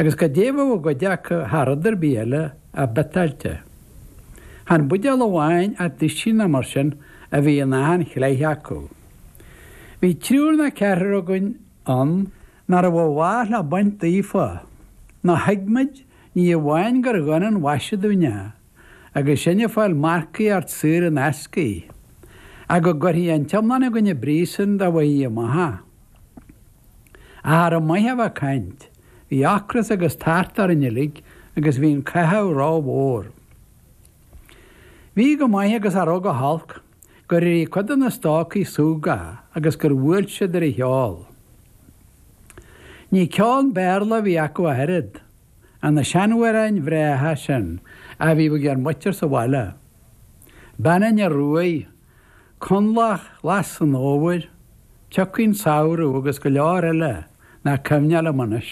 Agus goidé a bheadh i gcuid acu thar rud ar bith eile ach biotáilte. Chan buidéal amháin ach duisín nó mar sin a bhí in achan chleith acu. Bhí triúr nó ceathrar againn ann nach raibh a mhaith le baint daofa, nó thuig muid ní amháin gur dhon an mhaise dúinn é, agus sinn ag fáil marcaíocht saor in aisce, ach go gcuirfí an t-iomlán againn i bpríosún dá bhfaighfí amach é. Ach cha raibh maith a bheith ag caint, bhí ocras agus tart orainn uilig agus bhí an caitheamh ró-mhór. Bhí go maith agus cha raibh go holc, gur éirigh cuid de na stócaigh súgach agus gur bhuail siad ar an cheol. Ní ceol Béarla a bhí acu ach oiread, ach na seanamhráin bhreátha sin a bhíodh ag ár muintir sa bhaile. Bean an Ioruaidh, Conlach Ghlas an Fhómhair, Tiocfaidh an Samhradh agus go leor eile nach cuimhneach liom anois.